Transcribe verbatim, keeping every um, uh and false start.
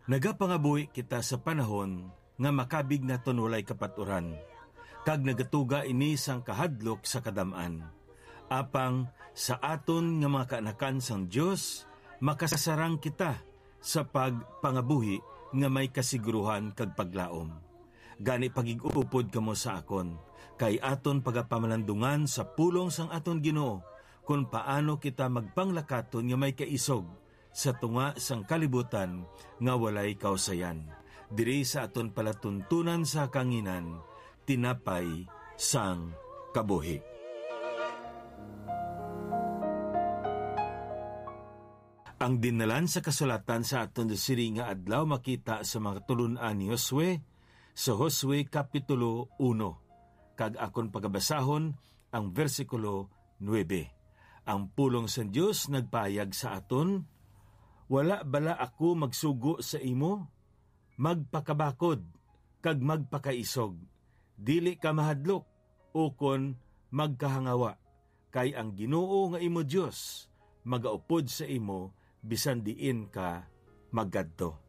Nagapangabuhi kita sa panahon nga makabig naton walay kapaturan, kag nagatuga ini sang kahadlok sa kadam-an. Apang sa aton nga mga kaanakan sang Dios, makasarang kita sa pagpangabuhi nga may kasiguruhan kag paglaom. Gani, pagig-upod kamo sa akon, kay aton pagapamalandungan sa pulong sang aton Ginoo kon paano kita magpanglakaton nga may kaisog sa tunga sang kalibutan nga walay kausayan, diri sa aton palatuntunan sa kanginan, tinapay sang kabuhi. Ang dinnalan sa kasulatan sa aton sini nga adlaw makita sa mga tulun-an ni Josue, sa Josue Kapitulo uno, kag akon pagabasahon ang bersikulo nuebe. Ang pulong sang Dios nagpahayag sa aton, "Wala bala ako magsugo sa imo? Magpakabakod kag magpakaisog. Dili ka mahadlok ukon magkahangawa, kay ang Ginoo nga imo Dios magaupod sa imo bisan diin ka magkadto."